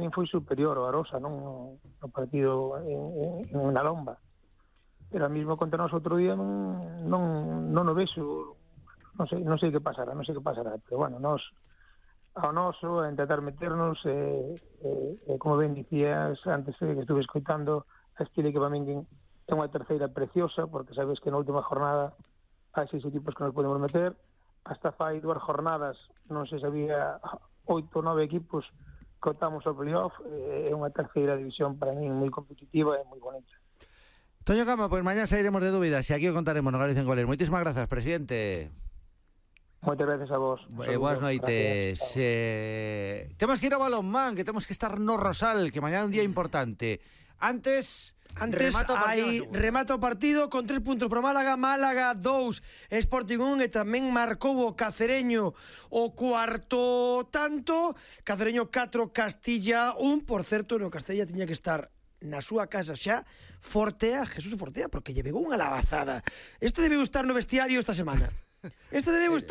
min foi superior o Arosa no partido en La Lomba. Pero ao mismo contra nós outro día non o vexo, non sei que pasará, pero bueno, nós ao noso, a intentar meternos, como ben dicías antes que estuve escoitando a Estile, que para min é unha terceira preciosa, porque sabes que na última jornada hai 6 equipos que nos podemos meter, hasta fai 2 jornadas non se sabía 8 ou 9 equipos que optamos ao playoff. É unha terceira división para min moi competitiva e moi bonita. Toño Cama, pues mañana sairemos de dúbidas e aquí o contaremos no Galicia en Goles. Moitísimas grazas, presidente. Moitas gracias a vos. Boas noites. Temos que ir ao balonmán, que temos que estar no Rosal, que mañana é un día importante. Antes remata o partido con 3 puntos pro Málaga 2, Sporting 1, e tamén marcou o Cacereño o cuarto tanto. Cacereño 4, Castilla 1. Por certo, no Castilla tiña que estar na súa casa xa Jesús Fortea, porque lle pegou unha labazada. Este debeu estar no vestiario esta semana. Este debeu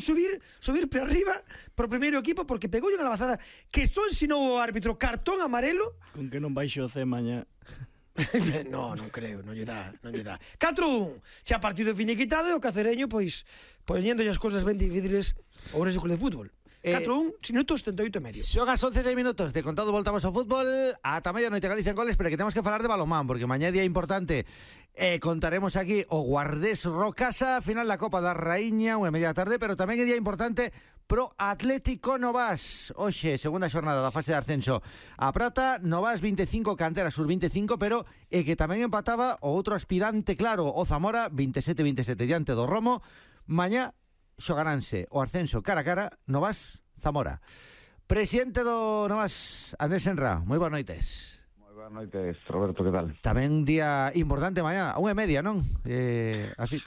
subir para arriba pro primeiro equipo, porque pegou unha labazada que só ensinou o árbitro cartón amarelo. Con que non baixo o C mañá. non creo, non lle dá. 4-1, xa partido finiquitado, e o Cacereño pois poñendo as cousas ben difíciles ao Ourense Club de Fútbol. 4-1, minutos 78 e medio. Xogas 11 minutos de contado, voltamos ao fútbol ata medianoite Galicia en Goles, pero que temos que falar de balonmán, porque mañá é día importante. Contaremos aquí o Guardés Rocasa, final da Copa da Raíña, 1:30 da tarde, pero tamén é día importante pro Atlético Novas. Hoxe, segunda xornada da fase de ascenso a Prata, Novas 25, Cantera Sur 25, pero que tamén empataba o outro aspirante claro, o Zamora 27-27 diante do Romo. Mañá xogaránse o ascenso cara a cara, Novas Zamora. Presidente do Novas, Andrés Senra, moi boas noites. Boas noites, Roberto, que tal? Tamén día importante mañá, 1:30, non? Así.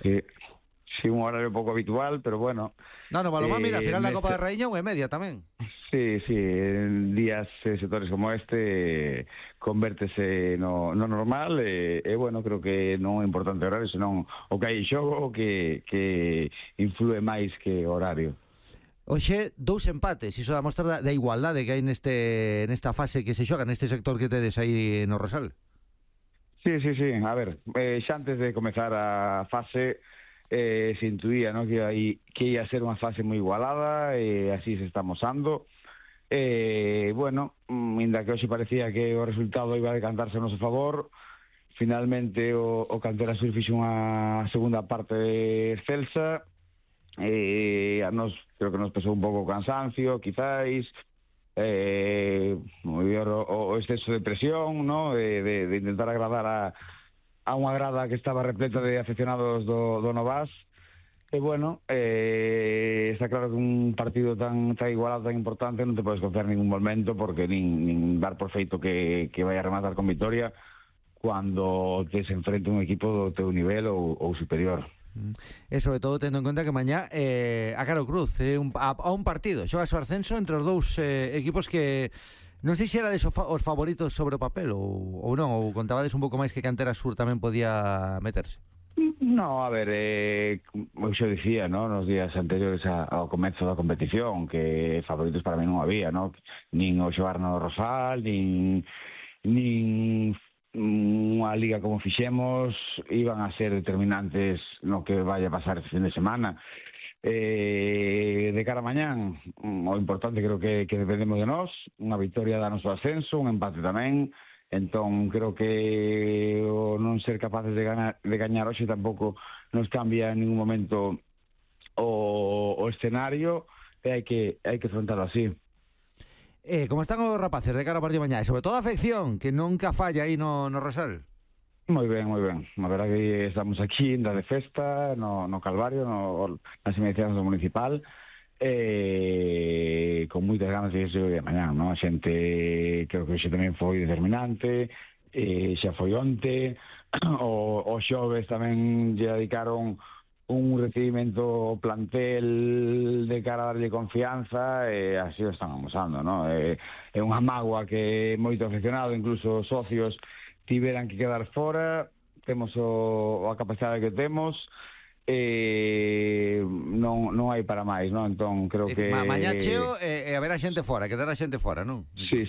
Sí, un horario pouco habitual, pero bueno. No, balonmán, mira, final da Copa da Raíña 1:30 tamén. Sí, en días sectores como este convértese no normal, bueno, creo que non é importante o horario, senón o que hai en xogo que influe máis que o horario. Oxe, 2 empates, iso da mostra da igualdade que hai nesta fase que se xoga, neste sector que tedes aí no Rosal. Sí, a ver, xa antes de comezar a fase se intuía, ¿no?, que ia ser unha fase moi igualada, e así se está mosando. Bueno, ainda que hoxe parecía que o resultado iba a decantarse a noso favor, finalmente o Cantera Sur fixo unha segunda parte excelsa. A nos creo que nos pesou un pouco o cansancio, quizáis, o exceso de presión, ¿no?, de intentar agradar a unha grada que estaba repleta de aficionados do Novas. E bueno, está claro que un partido tan igualado, tan importante, non te podes confiar en ningún momento, porque nin dar por feito que vai a rematar con vitoria cando te se enfrenta un equipo do teu nivel ou superior. E sobre todo tendo en conta que mañá a Caro Cruz a un partido xogas o ascenso entre os dous equipos que non sei se era os favoritos sobre o papel ou non, ou contabades un pouco máis que Cantera Sur tamén podía meterse. No, a ver, como xo dicía, ¿no?, nos días anteriores ao comezo da competición, que favoritos para mí non había, ¿no?, nin o xogar no Rosal, nin unha liga como fixemos iban a ser determinantes no que vaya a pasar este fin de semana. De cara a mañán, o importante creo que dependemos de nós, unha victoria da noso ascenso, un empate tamén. Entón creo que o non ser capaces de gañar hoxe tampouco nos cambia en ningún momento o escenario, e hai que afrontarlo así. Como están os rapaces de cara ao partido mañá? E sobre todo a afección, que nunca falla aí no Rosal. Moi ben. A verdad que estamos aquí de festa no Calvario, nas inmediacións do municipal, con moitas ganas de irse de mañá, non? A xente creo que hoxe tamén foi determinante, xa foi onte, o xoves tamén lle dedicaron un recibimento ao plantel de cara a darlle confianza, e así o están amosando, ¿no? É unha mágoa que moito aficionado, incluso socios, tiveran que quedar fora. Temos a capacidade que temos, non hai para máis, non? Entón creo que mañá cheo haberá xente fora, quedará xente fora, non? Sí,